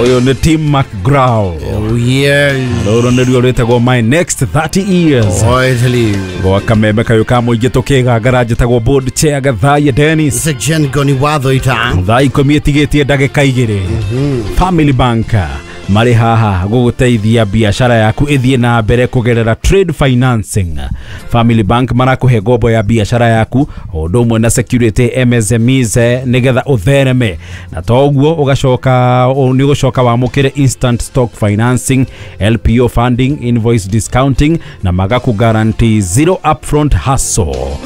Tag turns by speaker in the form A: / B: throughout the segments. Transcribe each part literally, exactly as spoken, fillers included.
A: Ũyũ nĩ Tim McGraw.
B: Oh yes.
A: Rũrũ nĩruo rwĩtagwo My Next thirty Years.
B: Oh, I tell you.
A: Gwa kameme kayũ ka mũingĩ tũkĩgangara njĩtagwo board chair Gathaiya Dennis.
B: Section Goni Watho ita.
A: Thaa ikũmi ĩtigĩtie ndagĩka igĩrĩ. Family Bank marĩ haha gũgũteithia biacara yaku ĩthiĩ na mbere kũgerera trade financing. Family Bank marakũhe ngombo ya biacara yaku o ũndũ ũmwe na security M S M Es nĩgetha ũthereme, na toguo ũgacoka nĩ ũgũcoka wamũkĩre instant stock financing, L P O funding, invoice discounting na magaku guarantee zero upfront hassle.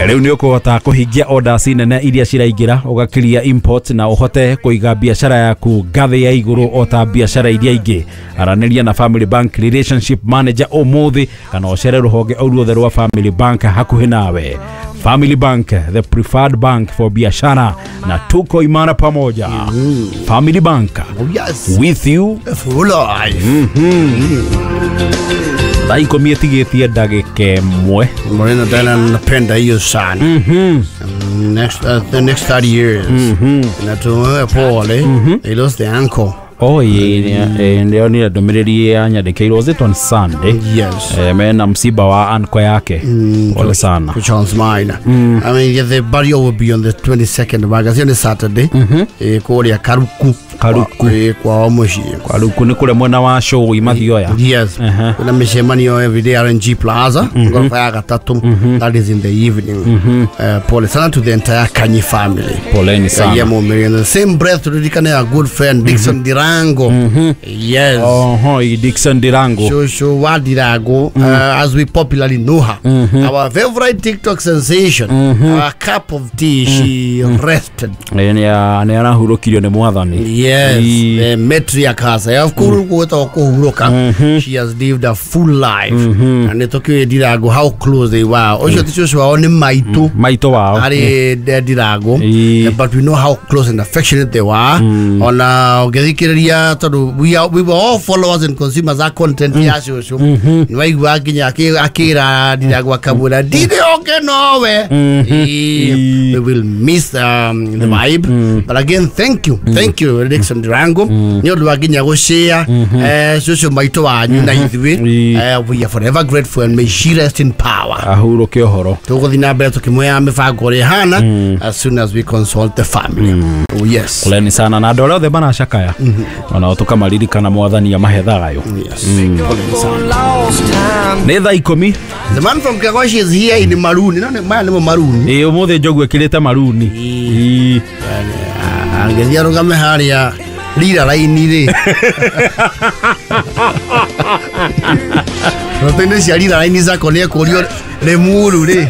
A: Rĩu nĩ ũkũhota kũhingia orders nene iria ciraingĩra, ũgakiria import na ũhote kũiga biacara yaku ngathĩ ya igũrũ o ta biacara iria ingĩ. Aranĩria na Family Bank Relationship Manager ũmũthĩ kana ũcere rũhonge o ruothe rwa Family Bank hakuhĩ nawe. Family Bank, the preferred bank for biashara, na tuko imara pamoja. Mm. Family Bank,
B: oh, yes.
A: With you
B: for life.
A: Mm-hmm. Thaa ikũmi ĩtigĩtie ndagĩka ĩmwe.
B: Morena tena napenda hiyo sana.
A: Mhm.
B: Next uh, the next thirty years.
A: Mhm.
B: Na tuwe pole.
A: Mm -hmm.
B: They lost the uncle.
A: Oh yeah, ndio ni ndũmĩrĩri yanyandĩkĩirwo, was it on Sunday?
B: Yes.
A: Eh, mena msiba wa uncle yake.
B: Mm,
A: pole sana.
B: Charles Mine.
A: Mm.
B: I mean, yeah, the burial will be on the twenty-second of August, on Saturday.
A: Mhm.
B: Eh, kũrĩa Karuku.
A: Karuku.
B: Eh, kwa mũciĩ.
A: Karuku nĩ kũrĩa mwena wa show Mathioya.
B: Yes.
A: Uh -huh.
B: Kuna mĩcemanio every day R N G Plaza.
A: Mm -hmm.
B: Ngorofa ya gatatu.
A: Mm -hmm.
B: That is in the evening.
A: Mm -hmm.
B: Uh, pole sana to the entire Kanyi family.
A: Poleni sana.
B: Yeah, mumiri. In the same breath turirikane a good friend Dixon
A: mm -hmm.
B: Dirango.
A: Mm -hmm.
B: Yes.
A: Oh, Dixon Dirango.
B: Shosho wa Dirango,
A: mm.
B: uh, as we popularly know her.
A: Mm -hmm.
B: Our favorite TikTok sensation.
A: Mm -hmm.
B: Our cup of tea,
A: mm.
B: she rested.
A: Nĩ arahurũkirio nĩ mwathani.
B: Yes, the matriarch herself.
A: Mm -hmm.
B: She has lived a full life.
A: Mm -hmm.
B: And nĩtũkĩũĩ Dirango how close they were. Ũcio ti cũcũ wao nĩ maitũ.
A: Maitũ wao.
B: Arĩ Dirango. But we know how close and affectionate they were.
A: Mm.
B: Ona ũngĩthikĩrĩria tondũ we are, we were all followers and consumers a content
A: mm.
B: ya cũcũ.
A: Mm -hmm.
B: Nĩwaigua nginya akĩra Dirango akamwĩra ndirĩ oke nowe.
A: Mm -hmm.
B: We will miss um, the vibe.
A: Mm.
B: But again, thank you.
A: Mm.
B: Thank you Dixon Dirango.
A: Mm.
B: Nĩ ũndũ wa nginya gũshare eh cũcũ maitũ wanyu na ithuĩ. Eh, we are forever grateful and may she rest in power.
A: Ahurũke ũhoro.
B: Tũgũthiĩ na mbere tũkĩmwĩra mĩbango ũrĩa ĩhana as soon as we consult the family.
A: Mm.
B: Oh yes.
A: Poleni sana na andũ arĩa othe maracakaya.
B: Mm -hmm.
A: Ona tũkamaririkana mwathani amahe thayũ.
B: Yes.
A: Mm.
B: Poleni sana.
A: Nĩ thaa ikũmi.
B: The man from Kagoshi is here in Maruni. No, maya nĩmo Maruni.
A: Ĩĩ ũmũthĩ njogu ĩkĩrĩte Maruni.
B: Ĩĩ. Angĩthiĩ arũgame harĩa rira raini rĩ. Rotene cia rira raini zako nĩ ekũrio Limuru rĩ.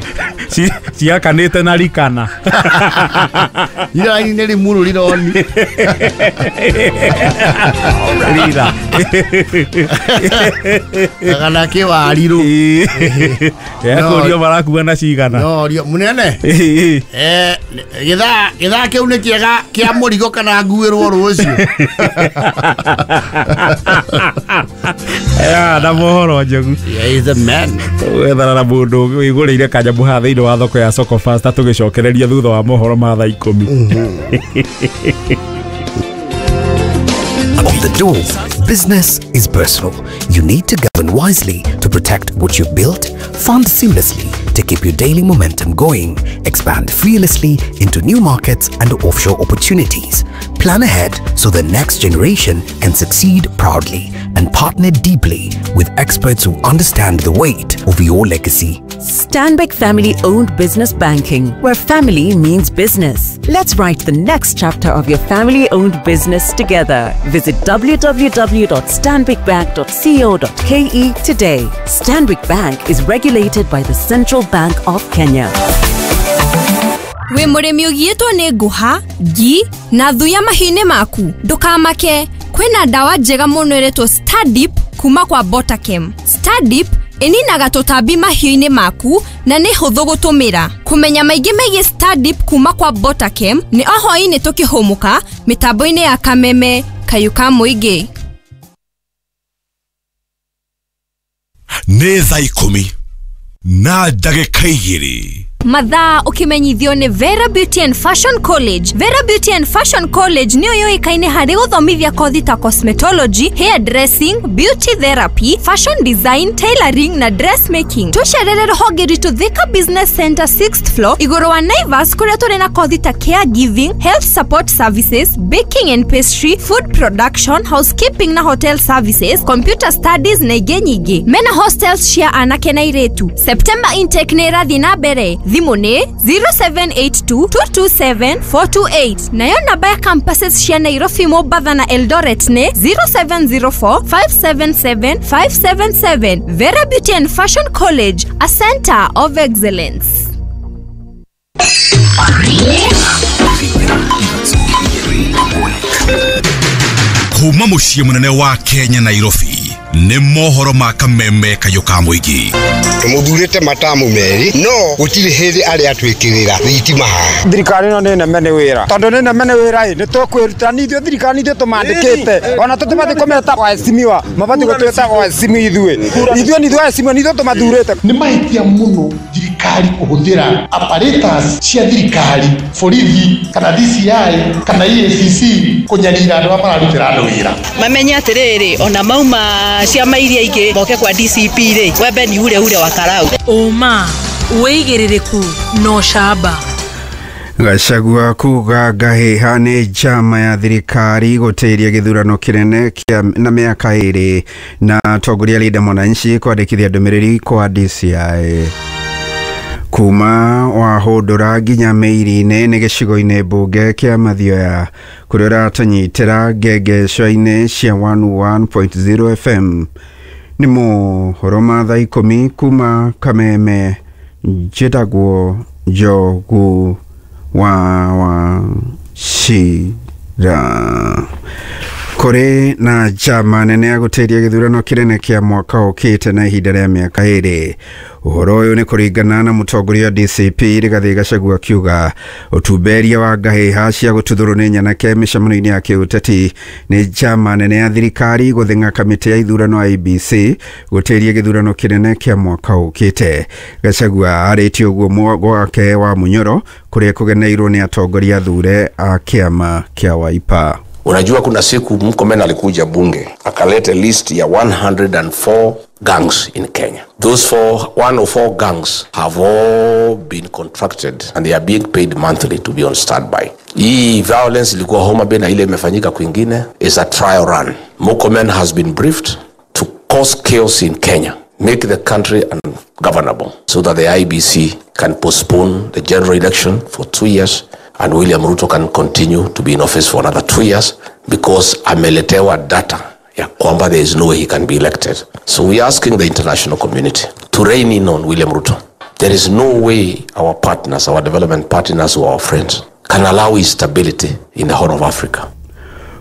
A: Ciakanĩte na rikana.
B: Rira raini nĩ Limuru rironi.
A: Rira.
B: Kana kĩwarirũ.
A: Ekũrio marakua na cigana.
B: No, rio munene. Eh, gĩthaa gĩthaa kĩu nĩ kĩega kĩa mũrigo kana nguĩrwo rũciũ.
A: Ya, na mohoro njogu.
B: Yeah, he's a man.
A: Wethara na mũndũ wĩgũrĩire kanyamũ haha thĩinĩ wa thoko ya Soko Fasta tũgĩcokereria thutha wa mohoro ma thaa ikũmi.
C: On the door, business is personal. You need to govern wisely to protect what you've built, fund seamlessly to keep your daily momentum going, expand fearlessly into new markets and offshore opportunities, plan ahead so the next generation can succeed proudly, and partner deeply with experts who understand the weight of your legacy.
D: Stanbic Family-Owned Business Banking, where family means business. Let's write the next chapter of your family-owned business together. Visit w w w dot stanbic bank dot co dot k e today. Stanbic Bank is regulated by the Central Bank of Kenya.
E: Wĩ mũrĩmi ũgiĩtwo nĩ ngũha, ngi na thuya mahiũ-inĩ maku, ndũkamake. Kwĩna ndawa njega mũno ĩretwo Stardip kuma kwa Botakem. Stardip ĩninaga tũtambi mahiũ-inĩ maku na nĩ hũthũ gũtũmĩra. Kũmenya maingĩ megiĩ Stardip kuma kwa Botakem nĩ o hwaĩ-inĩ tũkĩhũmũka mĩtambo-inĩ ya Kameme Kayũ ka Mũingĩ.
F: Nĩ thaa ikũmi na ndagĩka igĩrĩ.
E: Mathaa ũkĩmenyithio nĩ Vera Beauty and Fashion College. Vera Beauty and Fashion College nĩyo yũĩkaine harĩ gũthomithia kothi ta cosmetology, hair dressing, beauty therapy, fashion design, tailoring na dressmaking. Tũcerere rũhonge rwitũ Thika Business Center sixth floor igũrũ wa Naivas, kũrĩa tũrĩ na kothi ta caregiving, health support services, baking and pastry, food production, housekeeping na hotel services, computer studies na ingĩ nyingĩ. Mena hostels cia anake na airĩtu. September intake nĩ ĩrathiĩ na mbere. Thimũ nĩ zero seven eight two, two two seven, four two eight. Nayo namba ya campuses cia Nairobi, Mombasa na Eldoret nĩ zero seven zero four, five seven seven, five seven seven. Vera Beauty and Fashion College, a center of excellence.
F: Kuma muciĩ mũnene wa Kenya Nairobi nĩ mohoro ma kameme kayũ ka mũingĩ.
G: Tũmũthurĩte matamu merĩ no gũtirĩ hĩndĩ arĩa atwĩkĩrĩra thitima haha.
H: Thirikari ĩno nĩ neme nĩ wĩra, tondũ nĩ neme nĩ wĩra ĩ nĩ tũkwĩruta nĩ ithuĩ thirikari ithuĩ tũmandĩkĩte, ona tũtibatiĩ kũmeta waheshimiwa, mabatiĩ gũtwĩta waheshimiwa ithuĩ ithuĩ nĩ ithuĩ waheshimiwa, nĩ ithuĩ tũmathurĩte.
I: Nĩ mahĩtia mũno thirikari kũhũthĩra apparatus cia thirikari, borithi kana D C I kana E A C C kũnyarira andũ arĩa mararutĩra andũ wĩra.
J: Mamenye atĩrĩrĩ, ona mauma ciama iria ingĩ moke kwa D C P rĩ, wembe ni ure ure wa karau.
K: Ũma wĩigĩrĩrĩku no camba.
L: Gachagua kuga ngahĩha nĩ njama ya thirikari gũtĩria gĩthurano kĩnene kĩa na mĩaka ĩrĩ na atongoria Linda Mwananchi kwandĩkithia ndũmĩrĩri kwa D C I. Kuma wahũndũra nginya mĩiri-inĩ nĩ gĩcigo-inĩ mbunge kĩa Mathioya kũrĩa ũratũnyitĩra ngengeco-inĩ cia one one point zero F M. Nĩ mohoro ma thaa ikũmi kuma Kameme, njĩtagwo Njogu wa Wachira. Kũrĩ na njama nene ya gũtĩria gĩthurano kĩnene kĩa mwaka ũkĩte na ihinda rĩa mĩaka ĩrĩ. Ũhoro ũyũ nĩ kũringana na mũtongoria wa D C P Rigathĩ Gachagua akiuga ũtumberia wa ngahĩha cia gũtuthũrwo nĩ nyanake mĩcemanio-inĩ ya kĩũteti nĩ njama nene ya thirikari gũthĩng'a kamĩtĩ ya ithurano I B C gũtĩria gĩthurano kĩnene kĩa mwaka ũkĩte. Gachagua arĩtie ũguo gwake wa Munyoro kũrĩa kũgeneirwo nĩ atongoria thure a kĩama kĩa Wiper.
M: Unajua kuna siku Murkomen alikuja bunge akaleta list ya one hundred and four gangs in Kenya. Those four, one oh four gangs have all been contracted and they are being paid monthly to be on standby. Hii violence ilikuwa Homa Bay na ile imefanyika kwingine is a trial run. Murkomen has been briefed to cause chaos in Kenya, make the country ungovernable so that the I B C can postpone the general election for two years and William Ruto can continue to be in office for another two years because ameletewa data ya kwamba there is no way he can be elected. So we are asking the international community to rein in on William Ruto. There is no way our partners, our development partners or our friends can allow instability in the Horn of Africa.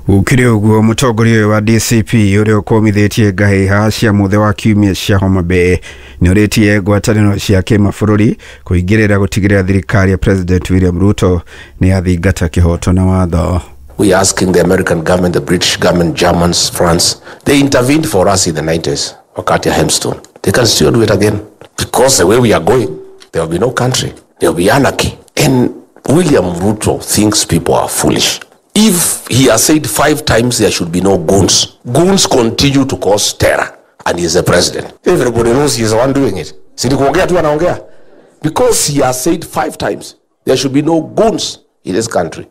L: Ukire ũguo mũtongoria wa D C P ũrĩa ũkũmithĩtie ngahĩha cia mũthĩ wa kiumia cia Homa Bay nĩ ũrĩtie ngwatanĩro cia kĩmabũrũri kũingĩrĩra gũtigĩrĩra thirikari ya President William Ruto nĩ yathingata kĩhoto na watho.
M: We are asking the American government, the British government, Germans, France, they intervened for us in the nineties, wakati ya Hemstone. They can still do it again because the way we are going, there will be no country, there will be anarchy. And William Ruto thinks people are foolish. If he has said five times there should be no goons, goons continue to cause terror, and he is the president. Everybody knows he is the one doing it. Si ni kuongea tu anaongea. Because he has said five times there should be no goons in this country.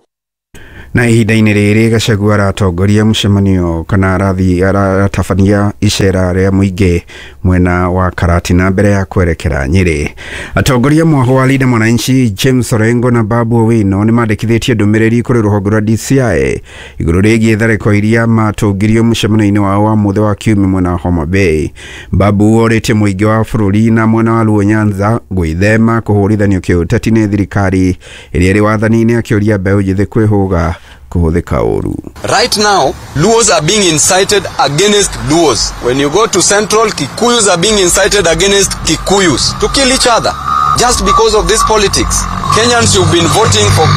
L: Na ihinda-inĩ rĩrĩ Gachagua aratongoria mũcemanio kana arathiĩ aratabania icera rĩa mũingĩ mwena wa Karatina mbere ya kwerekera Nyĩrĩ. Atongoria mwaho wa Linda Mwananchi James Orengo na Babu Owino nĩ mandĩkithĩtie ndũmĩrĩri kũrĩ rũhonge rwa D C I igũrũ rĩgiĩ tharĩko iria matũngirio mũcemanio-inĩ wao wa mũthĩ wa kiumia mwena wa Homa Bay. Babu orĩtie mũingĩ wa bũrũri na mwena wa Luo Nyanza gwĩthema kũhũrithanio kĩũteti nĩ thirikari ĩrĩa ĩrĩ wathani-inĩ, akĩũria mbeũ njĩthĩ kwĩhũga kuhuthika ũru.
N: Right now, Luos are being incited against Luos. When you go to Central, Kikuyus are being incited against Kikuyus to kill each other just because of this politics. Kenyans, you've been voting for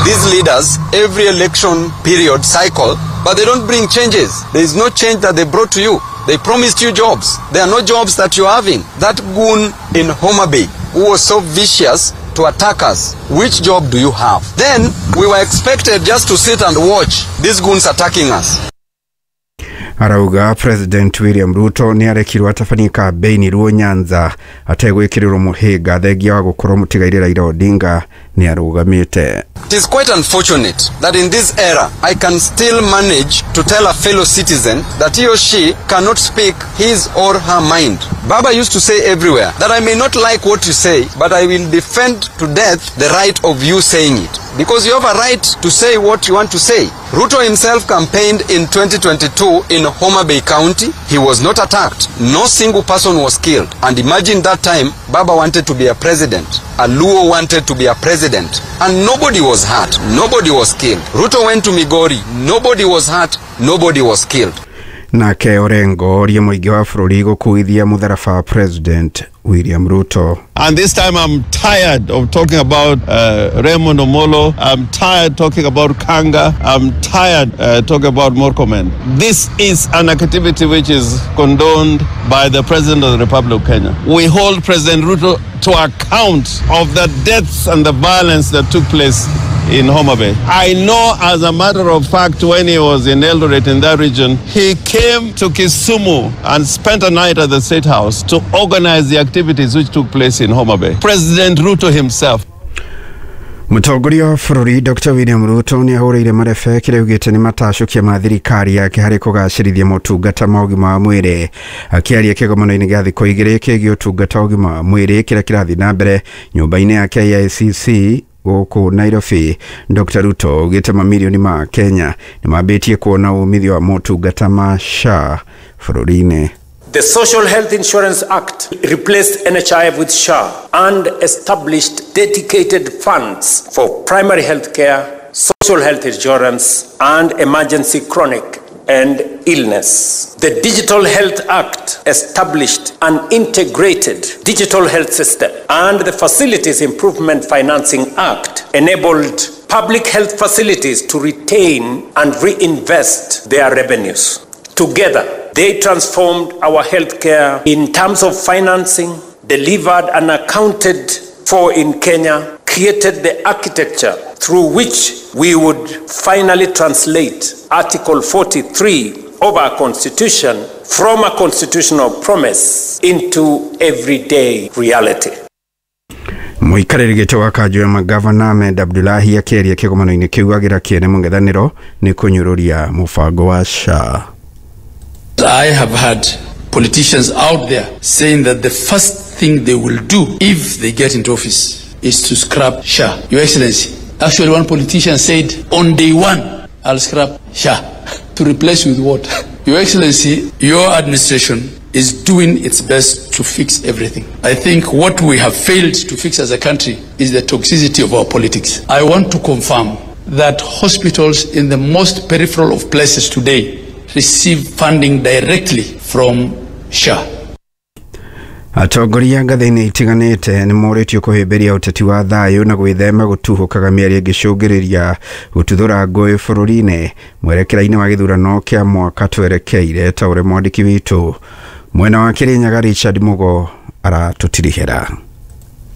N: these leaders every election period cycle, but they don't bring changes. There is no change that they brought to you. They promised you jobs. There are no jobs that you're having. That goon in Homa Bay who was so vicious to attack us, which job do you have? Then we were expected just to sit and watch these goons attacking us.
L: Arauga President William Ruto nĩ arekirwo atabanie kambĩini Luo Nyanza ategwĩkĩrĩrwo mũhĩnga thengia wa gũkorwo mũtigaire Raila Odinga nĩ arũgamĩte.
N: It is quite unfortunate that in this era I can still manage to tell a fellow citizen that he or she cannot speak his or her mind. Baba used to say everywhere that I may not like what you say, but I will defend to death the right of you saying it. Because you have a right to say what you want to say. Ruto himself campaigned in twenty twenty-two in Homa Bay County. He was not attacked. No single person was killed. And imagine that time, Baba wanted to be a president. A Luo wanted to be a president. And nobody was hurt. Nobody was killed. Ruto went to Migori. Nobody was hurt. Nobody was killed.
L: Nake Orengo orie mũingĩ wa bũrũri gũkuithia mũtharaba President William Ruto.
O: And this time I'm tired of talking about uh, Raymond Omolo. I'm tired talking about Kanga. I'm tired uh, talking about Murkomen. This is an activity which is condoned by the President of the Republic of Kenya. We hold President Ruto to account of the deaths and the violence that took place in Homa Bay. I know, as a matter of fact, when he was in Eldoret in that region, he came to Kisumu and spent a night at the State House to organize the activities which took place in Homa Bay. President Ruto himself.
L: Mũtongoria wa bũrũri Doctor William Ruto nĩ ahũrĩire marebe kĩrĩa augĩte nĩ matacũkia ma thirikari yake harĩ kũgacĩrithia motungata ma ũgima wa mwĩrĩ. Akĩaria kĩgomano-inĩ gĩa thikũ igĩrĩ kĩgiĩ ũtungata wa ũgima wa mwĩrĩ kĩrĩa kĩrathiĩ na mbere nyũmba-inĩ ya K I C C gũkũ Nairobi, Doctor Ruto augĩte mamirioni ma Kenya nĩ mambĩtie kuona umithio wa motungata ma S H A bũrũri-inĩ.
P: The Social Health Insurance Act replaced N H I F with S H A and established dedicated funds for primary health care, social health insurance, and emergency chronic and illness. The Digital Health Act established an integrated digital health system, and the Facilities Improvement Financing Act enabled public health facilities to retain and reinvest their revenues. Together, they transformed our healthcare in terms of financing, delivered and accounted for in Kenya, created the architecture through which we would finally translate Article forty-three of our Constitution from a constitutional promise into everyday reality.
L: Mũikarĩri gĩtĩ wa kanjũ ya magavana Ahmed Abdullahi akĩaria kĩgomano-inĩ kĩu agĩra kĩene mũng'ethanĩro nĩ kũnyũrũria mũbango wa S H A.
Q: I have had politicians out there saying that the first thing they will do if they get into office is to scrap S H A. Your Excellency, actually one politician said, on day one, I'll scrap S H A. To replace with what? Your Excellency, your administration is doing its best to fix everything. I think what we have failed to fix as a country is the toxicity of our politics. I want to confirm that hospitals in the most peripheral of places today receive funding directly from S H A.
L: Atongoria ngathĩ-inĩ itiganĩte nĩ morĩtio kũhĩmbĩria ũteti wa thayũ na gwĩthema gũtuhũkaga mĩario ĩngĩcũngĩrĩria gũtuthũra ngũĩ bũrũri-inĩ mwerekera-inĩ wa gĩthurano kĩa mwaka twerekeire, ta ũrĩa mwandĩki witũ mwena wa Kĩrĩnyaga Richard Mugo aratũtirihĩra.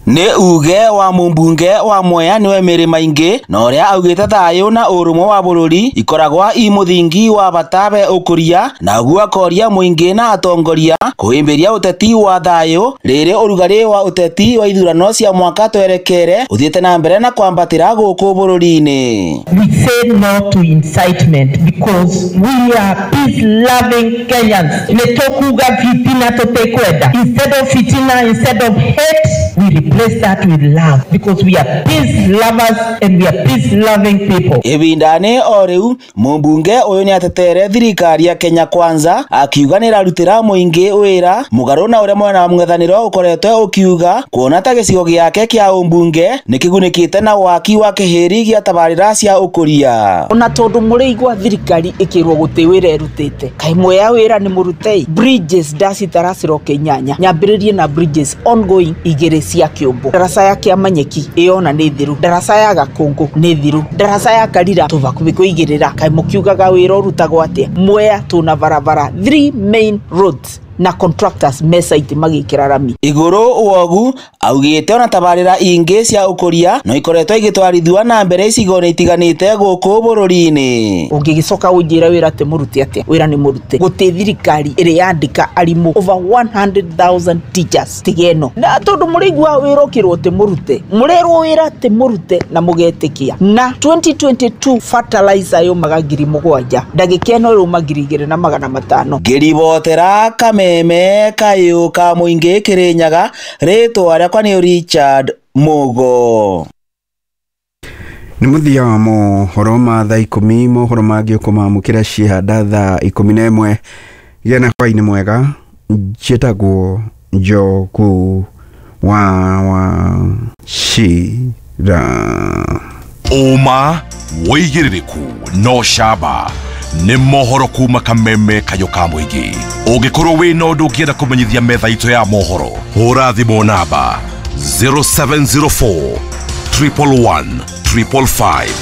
R: Nĩ uge wa mũmbunge wa Mwea nĩwe Mary Maingi na ũrĩa augĩte thayũ na ũrũmwe wa bũrũri ikoragwa i mũthingi wa bata be ũkũria na ũguo akoria mũingĩ na atongoria kũhĩmbĩria ũteti wa thayũ rĩrĩ ũrugarĩ wa ũteti wa ithurano cia mwaka twerekere ũthiĩte na mbere na kwambatĩra gũkũ bũrũri-inĩ.
S: We say no to incitement because we are peace loving Kenyans. Nĩ tũkuga fitina tũtikwenda. Instead of fitina, instead of hate, we replace that with love because we are peace lovers and we are peace loving people.
R: Ibindani o riu mumbunge uyu ni atetere thirikari ya Kenya Kwanza akiuga ni irarutira muingi wira mugaru na uria mwena wa mung'ethaniro ukoretwe ukiuga kuona ta gicigo giake kia umbunge ni kigunikite na waki wa kihiri gia tabarira cia ukuria.
T: Ona tondu muriigwa thirikari ikirwo guti wira erutite kai mweya wira ni murutei bridges ndacitara ciroke inyanya nyambiririe na bridges ongoing igiri cia Kĩũmbũ, ndaraca ya Kĩamanyeki ĩyona nĩ thiru, ndaraca ya Gakũngũ nĩ thiru, ndaraca ya Karira tũbakubi kũigĩrĩra. Kaĩ mũkiugaga wĩra ũrutagwo atĩa? Mwea tũna barabara three main roads na contractors me site magĩkĩra rami.
R: Igũrũ wogu augĩte ona tabarĩra ingĩ cia ũkũria no ikoretwo igĩtwarithio na mbere icigo-inĩ itiganĩte gũkũ bũrũri-inĩ.
T: Ũngĩgĩcoka ũnjĩre wĩra atĩ mũrute atĩa? Wĩra nĩ mũrute. Gũtĩ thirikari ĩrĩ yandĩka arimũ over one hundred thousand teachers tiga ĩno, na tondũ mũrĩigua wĩra ũkĩrwo atĩ mũrute, mũrerwo wĩra atĩ mũrute na mũgetĩkia. Na twenty twenty-two fertilizer yũmaga ngiri mũgwanja, ndagĩka ĩno ĩrũma ngiri igĩrĩ na magana matano.
R: Ngĩribotera kameme kayũ ka mũingĩ Kĩrĩnyaga, rĩtwa rĩakwa nĩ Richard Mugo.
L: Nĩ mũthia wa mohoro ma thaa ikũmi, mohoro mangĩ ũkũmamũkĩra ciehanda thaa ikũmi na ĩmwe. Gĩa na hwaĩ-inĩ mwega. Njĩtagwo Njogu wa Wachira.
F: Ũma wĩigĩrĩrĩku no camba nĩ mohoro kuma kameme kayũ ka mũingĩ. Ũngĩkorwo wĩna ũndũ ũngĩenda kũmenyithia metha itũ ya mohoro, hũra thimũ namba zero seven zero four triple one triple five.